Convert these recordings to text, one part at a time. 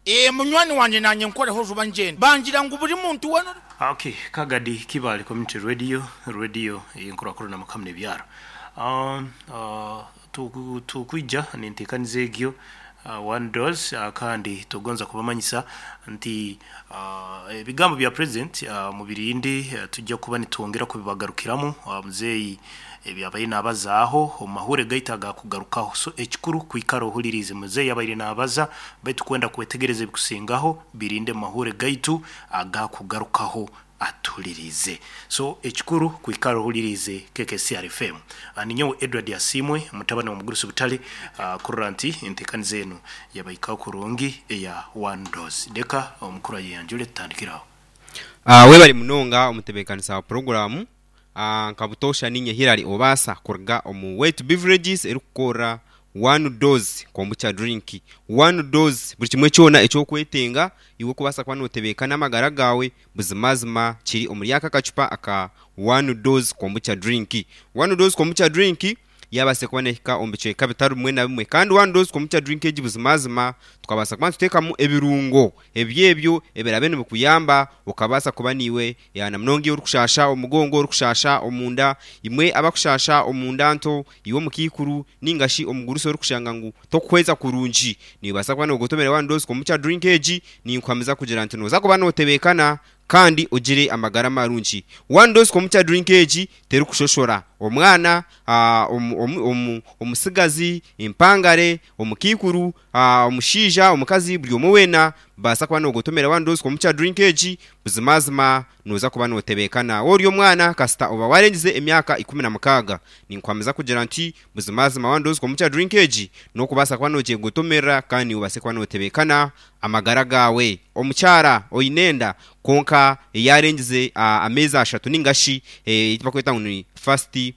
Ee, munywani wangye naanye nkoreho juba ngyende. Bangira ngu buri muntu weena ori. Ok, Kagadi Kibaale Community Radio, Radio ey'enkurakurana makamu n'ebyaro. Tukwija n'enteekaniza egyo One Dose kandi tugonza kubamanyisa nti ebigambo bya President mubirinde tujja kuba nitwongera kubibagarukiramu muzeeyi Ebi abaire naabazaaho omu mahuure gaitu agaakugarukaho. So ekikuru kwikara ohuliriize muzeeyi abaire naabaza, baitu kwenda kwetegereza ebikusingaho, birinde omu mahuure gaitu agaakugarukaho atuhuliriize. So ekikuru kwikara ohuliriize KKCR FM. Ninyowe Edward Asiimwe, mutabani wa Mugurusi Butale, kurora nti enteekaniza enu yabahikaho kurungi eya One Dose. Leka omukuru ayeyanjure tutandikire aho. Webare munonga omutebeekanisa wa puroguraamu. Nka butoosha niinye Hillary Obaasa kuruga omu Wet Beverages erikukorera One Dose Kombucha Drink. One Dose buri kimwe kyona eki orikwetenga iwe kubaasa kuba nootebeekana amagara gaawe buzimazima kiri omuri aka akacupa aka One Dose Kombucha Drink. One Dose Kombucha Drink yaabaasa kuba neehika omu bicweka bitari bimwe na bimwe. Kandi One Dose Kombucha Drink egi buzimazima tukabaasa kuba nituteekamu ebirungo ebyo ebyo ebiraabe nibikuyamba okabaasa kuba naiwe Na munonga iwe orikushaasha omugongo, orikushaasha omunda, imwe abakushaasha omunda nto, iwe omukaikuru nainga shi omugurusi orikushanga ngu tokuhweza kurungi, noobaasa kuba noogotomera One Dose Kombucha Drink egi, ninkuhamiza kugira nti nooza kuba nootebeekana kandi ogire amagara marungi. One Dose Kombucha Drink egi terikushoshora omwana, omutsigazi, empangare, omukaikuru, omushaija, omukazi, buri omwe weena Baasa kuba noogotomera One Dose Kombucha Drink egi, buzimazima nooza kuba nootebeekana. Waaba ori omwana, kasita oba waarengize emyaka 16, ninkuhamiza kugira nti buzimazima One Dose Kombucha Drink egi n'okubaasa kuba noogyegotomerera kandi obaase kuba nootebeekana amagara gaawe. Omukyara oine enda kwonka yaarengize ameezi ashatu ninga shi eki barikweta ngu ni first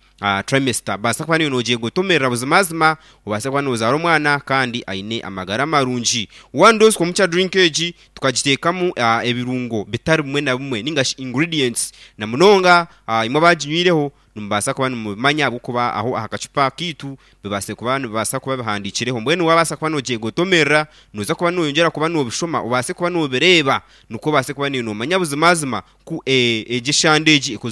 Trimester, baasa kuba niiwe noogyegotomerera buzimazima obaase kuba noozaara omwana kandi aine amagara marungi. One dose kombucha drink egi tukagiteekamu ebirungo bitari bimwe na bimwe ninga shi ingredients na munonga imwe abaaginywireho nimubaasa kuba nimubimanya ahabw'okuba aho aha kacupa kaitu bibaase kuba nibibaasa kuba bihandiikireho. Mbwenu waabaasa kuba noogyegotomerera nooza kuba nooyongyera kuba noobishoma obaase kuba noobireeba nikwo obaase kuba niiwe noomanya buzimazima ku egi eshande egi ekozirwe.